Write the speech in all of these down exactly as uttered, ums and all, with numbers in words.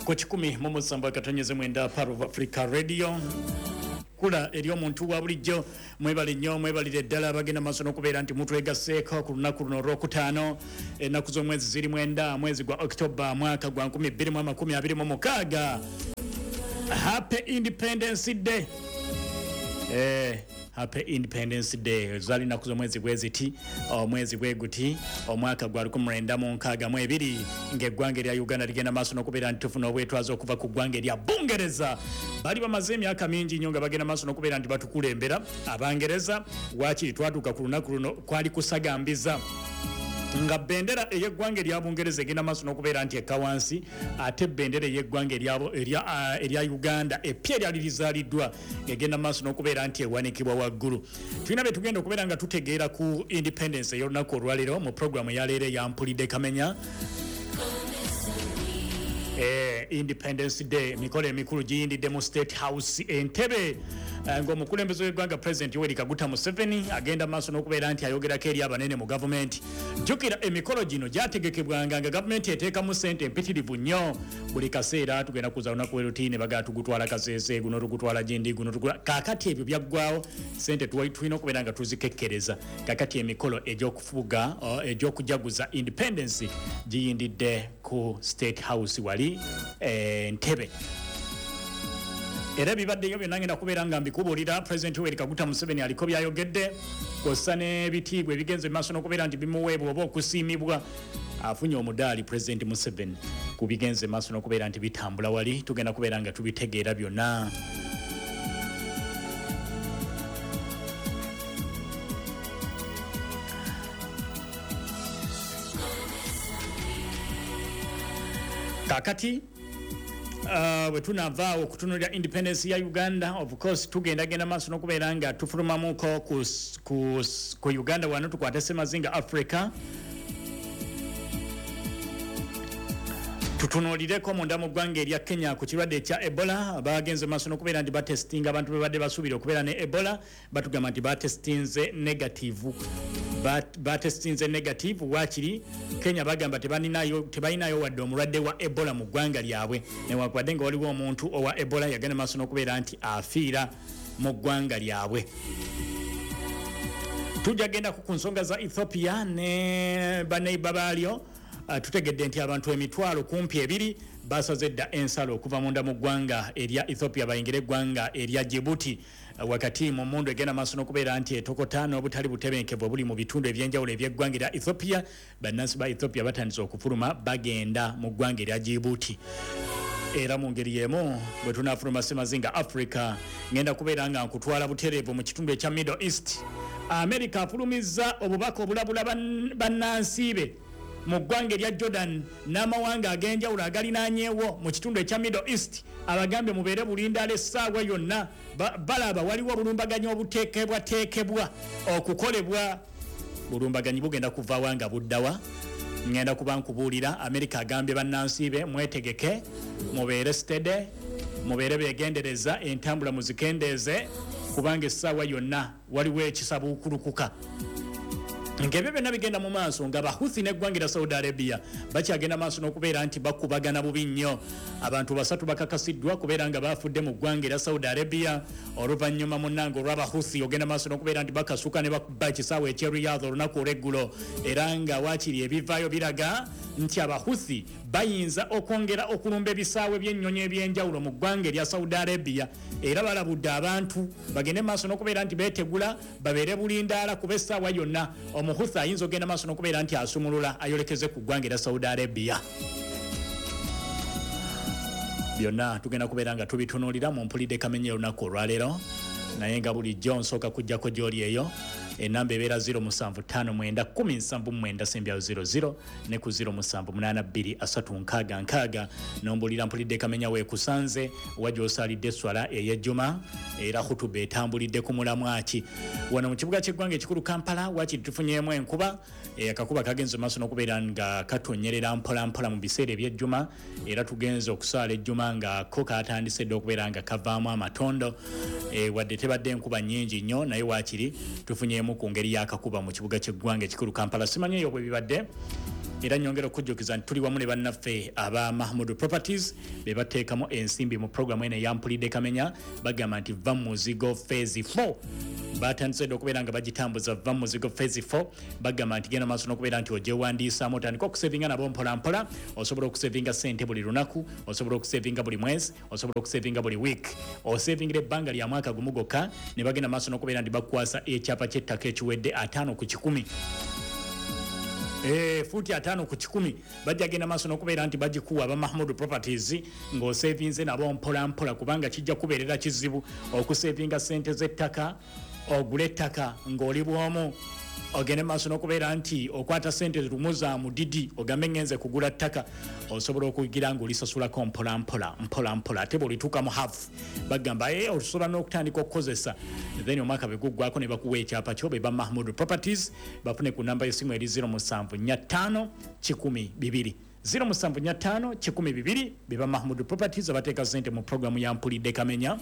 Ku kikumi mu musanvu akatonyeze mwenda Pearl of Africa Radio. Kula eri omuntu wa bulijjo, mwebale nnyo, mwebalire ddala abagenda maaso n'okubeera nti mutwegasseeko ku lunaku luno olwokutaano, ennaku z'omwezi ziri mwenda, mwezi gwa October, mwaka gwa nkumi bbiri mu amakumi abiri mu mukaaga. Happy Independence Day. Eh, Happy Independence Day. Zali ennaku z'omwezi bwe ziti, omwezi bwe guti, omwaka gwa lukumi lwenda mu nkaaga mu ebiri, ng'eggwanga erya Uganda ligenda maaso n'okubeera nti tufuna obwetwaze okuva ku ggwanga erya Bungereza. Bali bamaze emyaka mingi nnyo nga bagenda maaso n'okubeera nti batukulembera Abangereza. Waakiri twatuuka ku lunaku luno kwali kusagambiza nga bendera ey'eggwanga erya Bungereza egenda maaso n'okubeera nti ekka wansi, ate bendera ey'eggwanga erya, erya Uganda epya eryali lizaaliddwa egenda maaso n'okubeera nti ewanikibwa waggulu. Tulina bye tugenda okubeera nga tutegeera ku independence ey'olunaku olwaleero mu programu ya leero eya Mpulidde Kamenya. Eh, Independence Day, emikolo emikulu giyindidde mu State House Entebbe, ng'omukulembeze w'eggwanga President Yoweri Kaguta Museveni agenda maaso n'okubeera nti ayogerako eri abanene mu gavumenti. Jjukira emikolo gino gyategekebwanga nga gavumenti eteekamu ssente empitirivu nnyo. Buli kaseera tugenda kuza lunaku lwerutiine, bagaa tugutwala Kasese, guno tugutwala gindi, guno tugutwala. Kaakati ebyo byaggwawo, ssente tulina okubeera nga tuzikekkereza. Kaakati emikolo egy'okufuga, egy'okujaguza independence giyindidde ku State House wali Entebbe. Era bibaddeyo byonna ngenda kubeera nga mbikubuulira. President Yoweri Kaguta Museveni aliko byayogedde kw'ossa n'ebitiibwa ebigenze maaso n'okubeera nti bimuweebwa oba okusiimibwa. Afunye omudaali President Museveni ku bigenze maaso n'okubeera nti bitambula wali, tugenda kubeera nga tubitegeera byonna. Kaakati Uh, bwe tunaavaawo okutunuulira independence ya Uganda, of course tugendagenda maaso n'okubeera nga tufulumamuko ku, ku, ku Uganda wano tukwate Semazinga Africa, tutunuulireko munda mu ggwanga erya Kenya ku kirwadde ekya Ebola. Bagenze maaso n'okubeera nti batestinga abantu be badde basuubira okubeera ne Ebola, batugamba nti batestinze negative. Batestinze negative. Waakiri Kenya bagamba tebalinayo tebalinayo wadde omulwadde wa Ebola mu ggwanga lyabwe, newankubadde nga waliwo omuntu owa Ebola yagenda maaso n'okubeera nti afiira mu ggwanga lyabwe. Tujja gendako ku nsonga za Ethiopia ne baneiba baalyo. Uh, tutegedde nti abantu emitwalo kumpi ebiri basaze dda ensalo okuva munda mu ggwanga erya Ethiopia bayingire eggwanga erya Djibouti, uh, wakati mu mundu egenda maaso n'okubeera nti etokota n'obutali butebenkevu obuli mu bitundu ebyenjawulo eby'eggwanga erya Ethiopia. Bannansi ba Ethiopia batandise okufuluma bagenda mu ggwanga erya Djibouti. Era mu ngeri y'emu bwe tunaafuluma Semazinga Africa, ngenda kubeera nga nkutwala butereevu mu kitundu ekya Middle East. America afulumizza obubaka obulabula bannansi be mu ggwanga erya Jordan n'amawanga ag'enjawulo agalinaanyeewo mu kitundu ekya Middle East, abagambye mubeere bulindaala essaawa yonna, balaba waliwo obulumbaganyi obuteekebwateekebwa okukolebwa. Bulumbaganyi bugenda kuva nga buddawa, ngenda kuba nkubuulira. America agambye bannansi be mwetegeke, mubeere steady, mubeere beegendereza, entambula muzikendeeze, kubanga essaawa yonna waliwo ekisabuukulukuka. Ng'ebyo byonna bigenda mu maaso nga Bahuthi n'eggwanga erya Saudi Arabia bakyagenda maaso n'okubeera nti bakubagana bubi nnyo. Abantu basatu bakakasiddwa kubeera nga bafudde mu ggwanga erya Saudi Arabia oluvannyuma munnange olw'Abahuthi ogenda maaso n'okubeera nti bakasuka ne bakuba ekisaawe eky'e Riyadh olunaku olw'eggulo, era nga waakiri ebivaayo biraga nti Abahuthi bayinza okwongera okulumba ebisaawe by'ennyonyi ebyenjawulo mu ggwanga erya Saudi Arabia. Era balabudde abantu bagende maaso n'okubeera nti beetegula, babeere bulindaala kuba essaawa yonna omuhuthi ayinza ogenda maaso n'okubeera nti asumulula ayolekeze ku ggwanga erya Saudi Arabia. Byonna tugenda kubeera nga tubitunuulira mu Mpulidde Kamenya olunaku olwaleero, naye nga bulijjo nsooka kujjako gy'oli eyo enamba ebeera zero musanvu ttaano mwenda kkumi nsanvu mwenda sembyayo zero zero ne ku zero musanvu munaana bbiri asatu nkaaga nkaaga. Nombulira Mpulidde Kamenya weekusanze, wa gy'osaalidde esswala ey'ejjuma, era khutuba etambulidde ku mulamwa ki. Wano mu kibuga ky'eggwanga ekikulu Kampala waakiri tufunyeemu enkuba, akakuba kagenze maaso n'okubeera nga katonyerera mpola mpola mu biseera eby'ejjuma, era tugenze okusaala ejjuma nga ko katandise dda okubeera nga kavaamu amatondo. E, wadde tebadde enkuba nnyingi nnyo, naye waakiri tufunyeemu ku ngeri y'akakuba mu kibuga ky'eggwanga ekikulu Kampala. Simanyi eyo bwe bibadde, Era nyongera okujjukiza nti tuli wamu ne bannaffe aba Mahmood Properties be bateekamu ensimbi mu programu eno eyampulidde Kamenya. Bagamba nti va muzigo phase four batandise dda okubeera nga bagitambuza. Va muzigo phase four bagamba nti genda maaso n'okubeera nti ogyewandiisaamu, otandika okusevinga nabo mpola mpola. Osobola okusevinga sente buli lunaku, osobola okusevinga buli mwezi, osobola okusevinga buli week, osevingira ebbanga lya mwaka gumu gwokka, ne bagenda maaso n'okubeera nti bakukwasa ekyapa ky'ettaka ekiwedde ataano ku kikumi. Eh, fuuti ataano ku kikumi bajja genda maaso n'okubeera nti bagikuwa aba Mahmood Properties ng'osevinze nabo mpola mpola, kubanga kijja kubeerera kizibu okusevinga sente z'ettaka, ogule ettaka ng'oli bwomu, ogende maaso n'okubeera nti okwata sente lumu za mudidi ogambe ngenze kugula ttaka. Osobola okugira ng'olisasulako mpola mpola mpola mpola, ate bw'olituuka mu half bagamba e osobola n'okutandika okukozesa, then omwaka bwe guggwako ne bakuwa ekyapa kyo. Be ba Mahmood Properties, bafune ku namba y'essimu eri zero musanvu nnya ttaano kikumi bibiri, zero musanvu nnya ttaano kikumi bibiri. Be ba Mahmood Properties abateeka sente mu programu ya Mpulidde Kamenya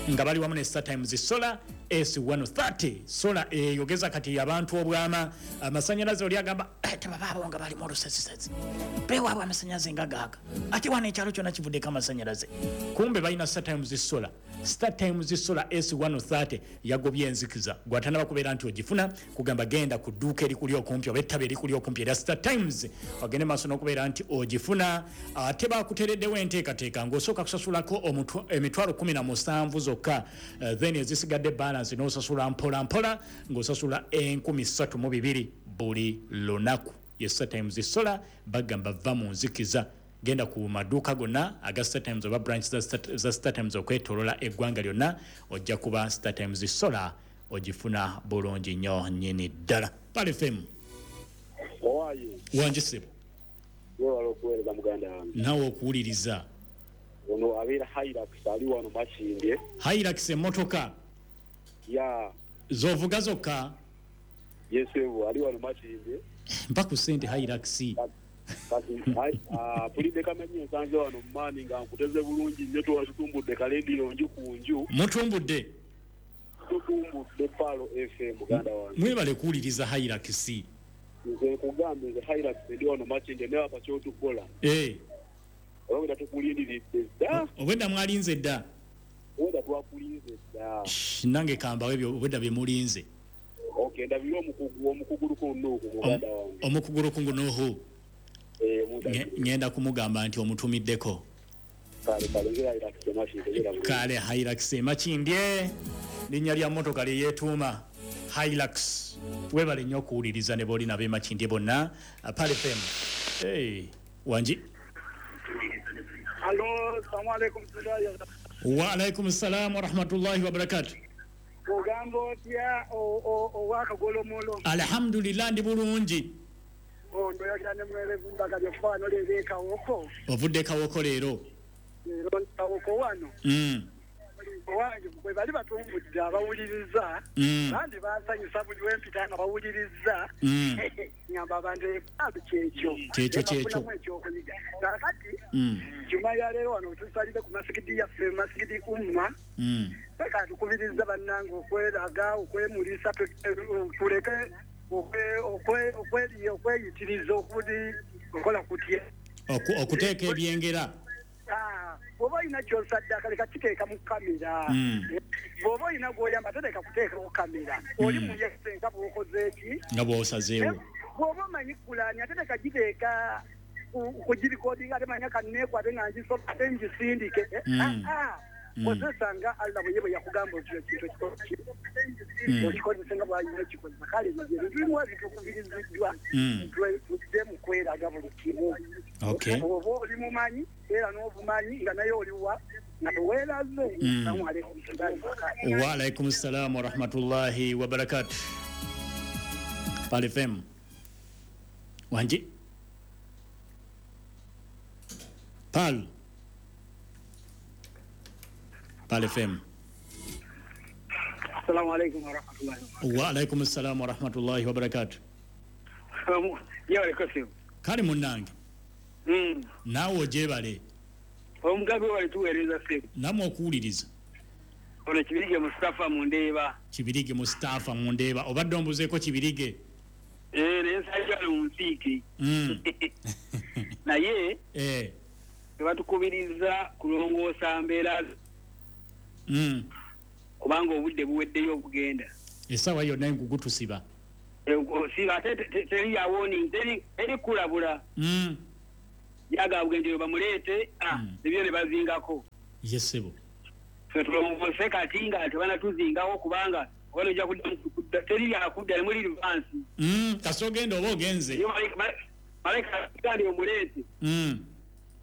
nga bali wamu ne Star Times Solar S one thirty. Solar eyogeza kati abantu obwama amasanyalaze. Oli agamba tebabaabo nga bali mu lusesisesi bewaabwe amasanyalaze nga gaaga, ate wano ekyalo kyonna kivuddeko amasanyalaze. Kumbe balina Star Times Solar. Star Times Solar S one thirty yagobye enzikiza. Gw'atanaba kubeera nti ogifuna, kugamba genda ku dduuka erikuli okumpi oba ettaba erikuli okumpi erya Star Times, ogende maaso n'okubeera nti ogifuna. Ate bakuteereddewo enteekateeka ng'osooka kusasulako emitwalo kumi na musanvu zokka, then ezisigadde balance n'osasula mpola mpola ng'osasula enkumi ssatu mu bibiri buli lunaku. Ye Star Times Solar bagamba va mu nzikiza. Genda ku maduuka gonna aga Star Times oba branch za Star Times okwetoolola eggwanga lyonna, ojja kuba Star Times Solar ogifuna bulungi nnyo nnyini ddala. Pal F M. Owaye. Wangi ssebo. Weewala okuweereza muganda wange. Naawe okuwuliriza. Ono abeera Hilux ali wano Makindye. Hilux emmotoka? Ya. Z'ovuga zokka? Yes, ali wano Makindye. Mpa ku ssente Hilux. Kati mpulidde Kamenya ensanze wano mu maanyi nga nkuteze bulungi nnyo, tutumbudde kalendiro nju ku nju. Mutumbudde? Tutumbudde Palo F M muganda wange. Mwebale kuwuliriza Hilux. Nze nkugambye nze Hilux ndi wano Makindye naye apa kyotukola. Eh. Obwedda tukulindiridde dda. Obwedda mwalinze dda. Obwedda twakulinze dda. Nange kambawe ebyo obwedda bye mulinze. Okay, ndabira omukugu omukugulu ku nnuuku muganda wange. Omukugulu ku nnuuku. Ngenda kumugamba nti omutumiddeko. Kale Hilux Makindye linnya lya mmotoka lye yeetuuma Hilux. Weebale nnyo okuwuliriza ne b'oli nabo e Makindye bonna. Pal F M. Hey, wangi. Allo, assalamu alaikum. Wa alaikum salam wa rahmatullahi wa barakatuh. Ogamba otya owakagolomolo? Alhamdulillah ndi bulungi. Ndoyagala ne mwerevu mbaga byokufaano leero Kawoko. Ovudde Kawoko leero? Leero Kawoko wano. Owange bwe bali batumbudde abawuliriza, bandi bansanyusa buli we mpita nga bawuliriza, ngamba abantu ebantu kyekyo. Kyekyo kyekyo. Kaakati Juma ya leero wano tusalire ku masigidi yaffe, masigidi Umma. Peka tukubiriza bannange okweraga, okwemulisa, tuleke okweyitiriza okuli okola kutya okuteeka ebyengera. Bw'oba olina ky'osaddaaka leka kiteeka mu kamera. Bw'oba olina gw'oyamba tereka kuteekawo kamera. Oli muyese nga bw'okoze eki nga bw'osazeewo. Bw'oba omanyi kulaani ate leka giteeka kugirikodinga ate manya kanneekwate nga ngisoma ate ngisindike. Kozesa nga Allah bwe ye yakugamba otyo ekintu ekikoze okikozese nga bw'alina ekikozesa. Kale ebyo ebintu bimu ebituukubiriziddwa tudde mu kweraga buli kimu. Oba oli mumanyi era n'obumanyi nga naye oliwa nga teweeraze. Assalamu alaikum. Wa alaikum salam wa rahmatullahi wa barakatuh. Pal F M. Wangi. Pal. Pal F M. Assalamu alaikum wa rahmatullahi wa barakatuh. Wa alaikum assalam wa rahmatullahi wa barakatuh. Yawale kosimu. Kale munnange. Mm. Naawe ogyebale. Omugabe wali tuweereza ssebo. Nammwe okuwuliriza. Ono Kibirige Mustafa Mundeeba. Kibirige Mustafa Mundeeba. Obadde ombuzeeko Kibirige? Eh, nensajja mu nsiike. Mm. Naye eh tebatukubiriza kulongoosa mbeera. Mm. Kubanga obudde buweddeyo okugenda. Essaawa yonna engugu tusiba. Osiba ate teri ya warning, teri teri kulabula. Mm. Yaga bugenjero bamuleete, ah, mm. ebyo ne bazingako. Yes sebo. Ffe tulongoose kati nga tebanatuzingawo kubanga wano ojja kudda teri yakudda muli advance. Mm, kasogenda oba ogenze. Malaika gandi omuleete. Mm.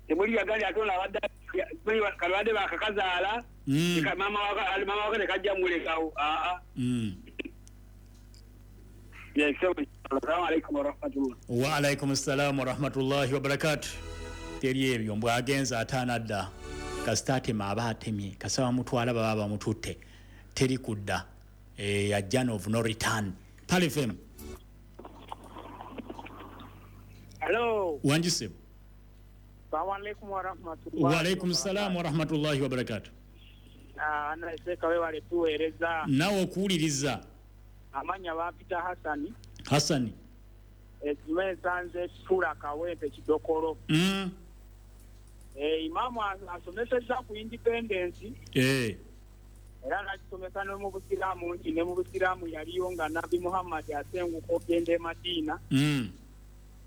Temuli yagali atola abadde kalwadde bakakazaala. Mm. Mama waka mama waka kajja mulekawo. Ah ah. Mm. Yes, assalamu alaikum wa rahmatullah. Wa alaikum assalam wa rahmatullahi wa barakatuh. Teri ebyo mbwa agenza ataana dda. Kasita atema aba atemye, kasaba mutwala baba bamututte. Teri kudda. Eh, a journey of no return. Pearl F M. Hello. Wanjise. Assalamu alaikum wa rahmatullahi. Wa alaikum salam wa rahmatullahi wa barakatuh. Ah, naiseka wewe alitueleza. Nawe okuwuliriza. Amanya bampita Hasani. Hasani. Ejume sanze sura Kawempe Kidokolo. Mm. Eh, imamu asomeseza ku independence. Eh. Era n'akisomesa ne mu Busiraamu nti ne mu Busiraamu yaliyo nga Nabbi Muhammad asenguka okugenda e Madiina. Mm.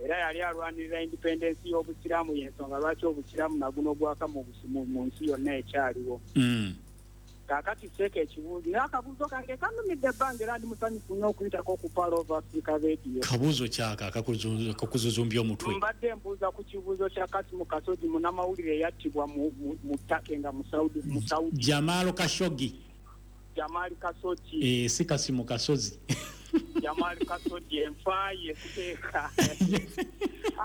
Era yali alwanirira independence y'Obusiraamu, y'ensonga lwaki Obusiraamu naguno gwaka mu mu nsi yonna ekyaliwo. Mm. Kaakati seeka ekibuuzo naye akabuuzo kange kanumidde ebbanga era ndi musanyufu nnyo okuyitako ku Pearl of Africa Radio. Kabuuzo kyaka akakuzuzumbya omutwe. Mbadde mbuuza ku kibuuzo kya Kasimu Kasogi munnamawulire eyattibwa mu mu Turkey nga mu Saudi mu Saudi. Jamal Khashoggi. Jamal Khashoggi. Eh, si Kasimu Kasozi. Jamal Khashoggi enfa ye kuteeka.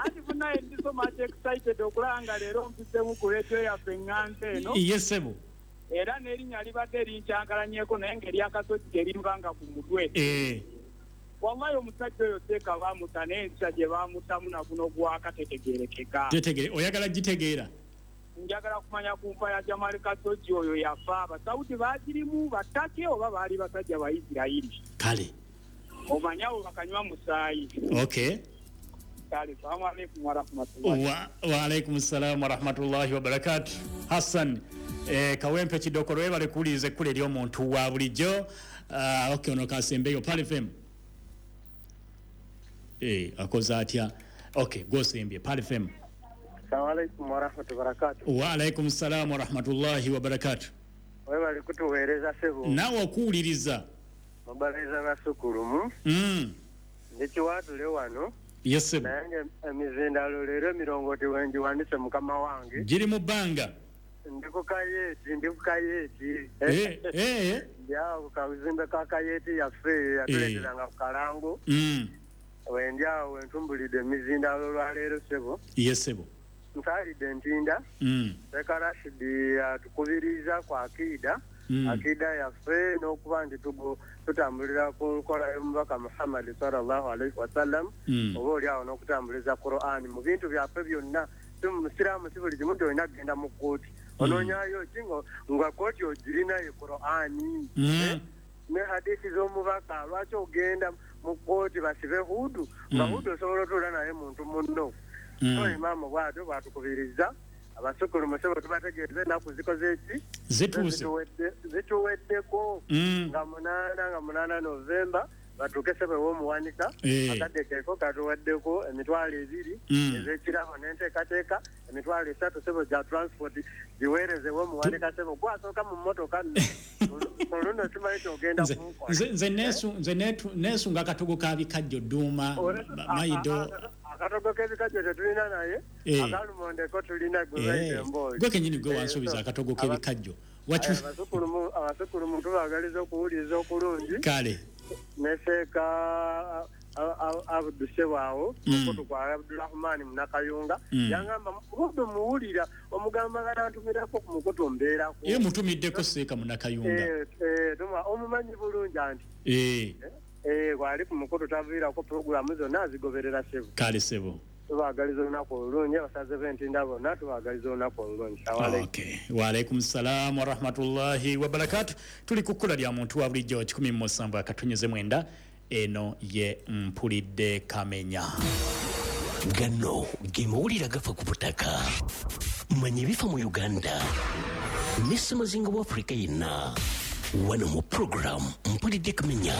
Anti munaye ndi so much excited okulaba nga leero mpisemu ku radio yaffe eŋŋanza eno. Yes sebo. Era n'erinnya libadde linkyankalanyeko naye ng'erya Kasogi terimbanga ku mutwe. Eh. Wallahi omusajja oyo seeka baamuta n'ensa gye baamutamu na guno gwaka tetegeerekeka. Tetegere, oyagala gitegeera? Njagala kumanya ku nfa ya Jamal Khashoggi oyo yafa Abasawudi baagirimu Batake oba baali basajja ba Isirayiri. Kale. Omanya abo bakanywa musaayi. Okay. Kale, salamu alaikum wa rahmatullahi. Wa, wa alaikum salam wa rahmatullahi wa barakatuh. Hassan eh, Kawempe Kidokolo webale kuwuliriza ekkula ery'omuntu wa bulijjo. Uh, okay, ono kasembeyo Pearl F M. Eh, akoze atya? Okay, gwosembye Pearl F M. Assalamu alaikum wa rahmatullahi wa barakatuh. Wa alaikum salam wa rahmatullahi wa barakatuh. Webale kutuweereza ssebo. Nawe okuwuliriza. Mubaliza basukulumu. Mm. Ndikiwaatule wano. Yes sir. Naye emizindalo leero emirongooti wengiwandise mukama wange. Giri mu bbanga. Ndi ku kayeeti, ndi ku kayeeti. Eh, eh. Ndi awo ku kazimbe ka kayeeti yaffe yatuleeteranga ku kalango. Mm. Wendi awo wentumbulidde emizindalo olwaleero ssebo. Yes sebo. Nsaalidde Ntinda. Mm. Sheikh Rashidi atukubiriza ku akiida. Mm. Akiida yaffe n'okuba nti tutambulira ku nkola y'omubaka Muhammad sallallahu alaihi wasallam. Mm. Oba oli awo n'okutambuliza Qur'an mu bintu byaffe byonna. Si musiraamu si buli kimu nti olina kugenda mu kkooti. Onoonyayo ki nga kkooti ogirina ye Qur'ani. Mm. Ne hadithi z'omubaka lwaki ogenda mu kkooti basibe Hudu nga Hudu osobola otuula naye muntu munno. So imaamu bw'atyo bw'atukubiriza abasukulu musebo tubategeeze ennaku zikoze ki zituuse zituweddeko nga munaana nga munaana Novemba batuuke ssebo ew'omuwanika. Akadde keeko katuweddeko emitwalo ebiri ez'ekirabo n'enteekateeka emitwalo esatu ssebo gya transport giweereze ew'omuwanika ssebo gwasooka mu mmotoka nno oluno simanyi kyogenda kunkola. Nze neesunga akatogo ka bikajjo Dduuma Mayido. Akatogo k'ebikajjo tetulina naye akalumondeko tulina gwe bayita emboozi. Gwe kennyini gwe wansuubiza akatogo k'ebikajjo. Abasukulumu tubaagaliza okuwuliriza okulungi. Kale. Ne Sheikh Abdu Ssebwawo omukutu kwa Abdurahman Munakayunga yangamba Hudu muwulira omugamba nga nantumirako ku mukutu mbeerako. Ye mutumiddeko Sheikh Munakayunga. Eh, eh, omumanyi bulungi anti. Eh. Eh, wali ku mukutu taviirako pulogulaamu zonna azigoberera ssebo. Kale ssebo. Tubaagaliza olunaku olulungi abasaze b'Entinda bonna tubaagaliza olunaku olulungi. Okay. Wa alaikum salam wa rahmatullahi wa barakatuh. Tuli ku kkula lya muntu wa bulijjo kikumi mu musanvu akatonyeze mwenda. Eno ye Mpulidde Kamenya. Gano ge mawulire agafa ku butaka. Manya ebifa mu Uganda ne ssemazinga wa Afrika yenna. Wano mu program Mpulidde Kamenya.